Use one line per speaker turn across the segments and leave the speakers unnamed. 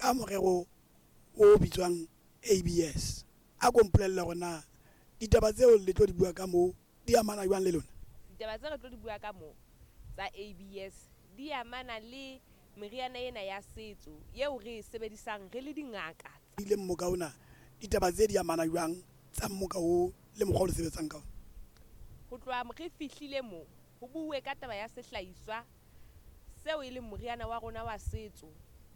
Ka morero o bitswang ABS. A ko mpolelle hore na ditaba tseo le tlo di bua ka moo di amana jwang le lona?
Ditaba tse re tlo di bua ka moo tsa ABS di amana le meriana ena ya setso eo re e sebedisang re le dingaka.
Ile mmoka ona, ditaba tse di amana jwang tsa mmoka oo le mokgwa o le sebetsang ka ona?
Ho tloha re fihlile moo ho buuwe ka taba ya sehlahiswa seo e leng moriana wa rona wa setso,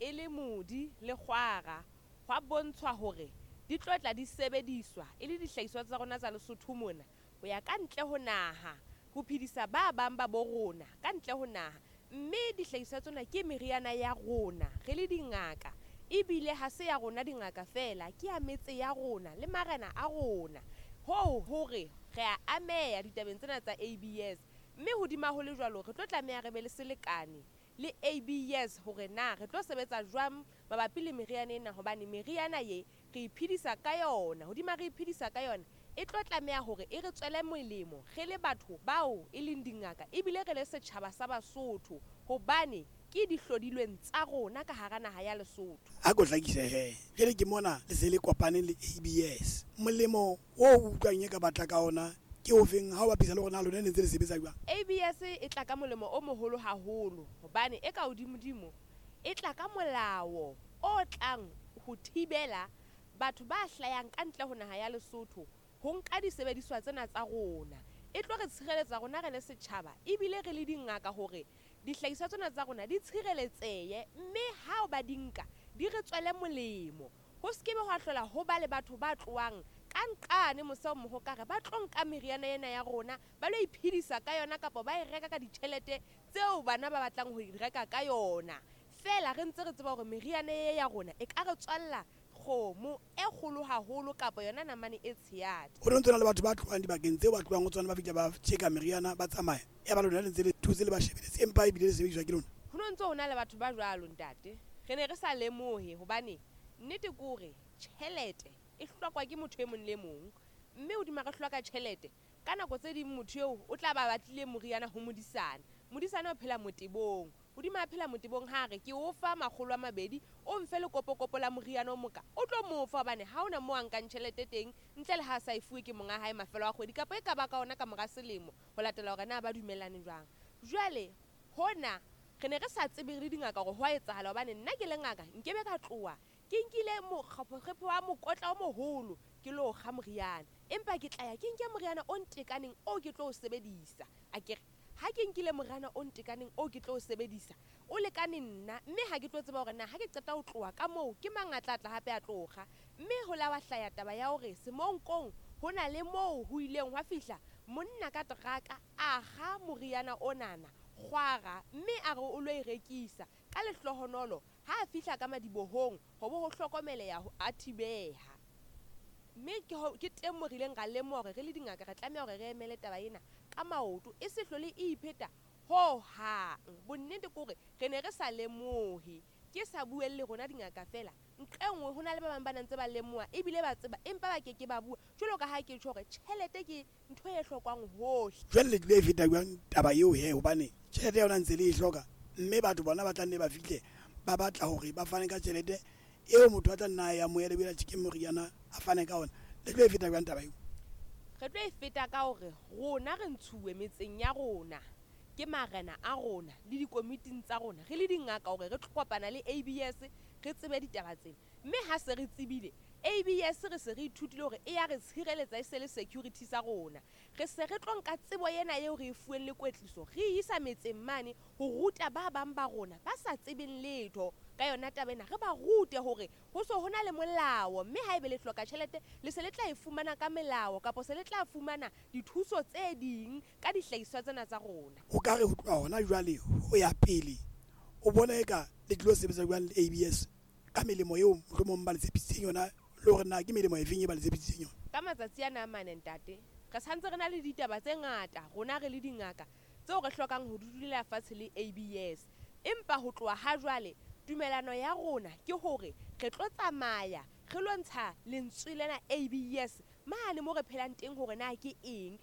e le modi le kgwara. Hwa bontshwa hore di tlo tla di sebediswa e le dihlahiswa tsa rona tsa Lesotho mona ho ya ka ntle ho naha, ho phedisa ba bang ba bo rona ka ntle ho naha. Mme dihlahiswa tsena ke meriana ya rona re le dingaka, ebile ha se ya rona dingaka feela, ke ya metse ya rona le marena a rona. Hoo hore re a ameha ditabeng tsena tsa ABS. Mme hodima ho le jwalo, re tlo tlameha re be le selekane le ABS hore na re tlo sebetsa jwang mabapi le meriana ena, hobane meriana ye re iphedisa ka yona. Hodima re iphedisa ka yona, e tlo tlameha hore e re tswele molemo re le batho bao e leng dingaka, ebile re le setjhaba sa Basotho, hobane ke dihlodilweng tsa rona ka hara naha ya Lesotho.
A ko hlakise he, jwale ke mona le se le kopane le ABS. Molemo o o utlwang e ka batla ka ona ke ofeng ha o bapisa le hore na lona ne ntse le sebetsa jwang?
ABS e tla ka molemo o moholo haholo, hobane e ka hodimodimo e tla ka molao o tlang ho thibela batho ba hlayang ka ntle ho naha ya Lesotho ho nka disebediswa tsena tsa rona. E tlo re tshireletsa rona re le setjhaba, ebile re le dingaka, hore dihlahiswa tsena tsa rona di tshireletsehe, mme ha ba di nka di re tswele molemo. Ho se ke be hwa hlola ho ba le batho ba tlohang ka nqane mose ho mohokare ba tlo nka meriana ena ya rona ba lo iphedisa ka yona, kapa ba e reka ka ditjhelete tseo bana ba batlang ho e reka ka yona. Feela re ntse re tseba hore meriana e ya rona e ka re tswalla kgomo e kgolo haholo kapa yona namane e tshehadi.
Ho ntse na le batho ba tlohang dibakeng tseo ba tlohang ho tsona, ba fihla ba tjeka meriana ba tsamaya, ya ba lona le ntse le thotse le ba shebeletse, empa ebile le sebediswa ke lona.
Ho no ntse ho na le batho ba jwalo, ntate. Re ne re sa lemohe, hobane nnete ke hore tjhelete e hlokwa ke motho e mong le mong, mme hodima re hloka tjhelete, ka nako tse ding motho eo o tla ba batlile moriana ho modisana. Modisana o phela motebong, hodima a phela motebong, ha re ke o fa 200, o mfe lekopokopo la moriana o moka, o tlo mo fa, hobane ha hona moo a nkang tjhelete teng ntle le ha a sa e fuwe ke monga hae mafelo a kgwedi, kapa e ka ba ka ona ka mora selemo, ho latela hore na ba dumellane jwang. Jwale hona re ne re sa tsebe re le dingaka hore ho a etsahala, hobane nna ke le ngaka nkebe ka tloha ke nkile mokgepho wa mokotla o moholo ke lo kga moriana, empa ke tla ya ke nke moriana o ntekaneng o ke tlo o sebedisa. Akere ha ke nkile moriana o ntekaneng o ke tlo o sebedisa, o lekane nna, mme ha ke tlo tseba hore na ha ke qeta ho tloha ka moo ke mang a tla tla hape a tlo kga. Mme ho la wa hlaya taba ya hore Semonkong ho na le moo ho ileng hwa fihla monna ka teraka a kga moriana onana kgwara, mme a re o lo e rekisa. Ka lehlohonolo ha a fihla ka madibohong ho bo ho hlokomeleha a thibeha. Mme ke teng moo re ileng ra lemoha hore re le dingaka re tlameha hore re emele taba ena ka maoto, e se hlole e ipheta hohang. Bonnete ke hore re ne re sa lemohe, ke sa buelle rona dingaka feela, nqe nngwe ho na le ba bang ba nang ntse ba lemoha ebile ba tseba, empa ba keke ba bua. Jwalo ka ha ke tjho hore tjhelete ke ntho e hlokwang hohle.
Jwale le tlilo e feta jwang taba eo he, hobane tjhelete ya yona ntse le e hloka, mme batho bona ba tla nne ba fihle ba batla hore ba fane ka tjhelete eo motho a tla nna a e amohele ebile a tjhe ke moriana a fane ka ona. Le tlo e feta jwang taba eo?
Re tlo e feta ka hore rona re ntshuwe metseng ya rona ke marena a rona le dikomiting tsa rona re le dingaka hore re tlo kopana le ABS re tsebe ditaba tsena. Mme ha se re tsebile ABS, re se re ithutile hore e ya re tshireletsa, e se le security sa rona. Re se re tlo nka tsebo ena eo re e fuweng le kwetliso, re e isa metseng mane ho ruta ba bang ba rona ba sa tsebeng letho ka yona taba ena. Re ba rute hore ho so ho na le molao, mme haebe le hloka tjhelete le se le tla e fumana ka melao, kapa se le tla fumana dithuso tse ding ka dihlahiswa tsena tsa rona.
O ka re ho tloha hona jwale ho ya pele, o bona eka le tlilo sebetsa jwang le ABS ka melemo eo mohlomong ba le tshepisitseng yona, le hore na ke melemo efeng e ba le tshepisitseng yona?
Ka matsatsi ana a mane, ntate, re santse re na le ditaba tse ngata rona re le dingaka tseo re hlokang ho di dulela fatshe le ABS. Empa ho tloha ha jwale tumelano ya rona ke hore re tlo tsamaya re lo ntsha lentswe lena ABS mane mo re phelang teng hore na ke eng,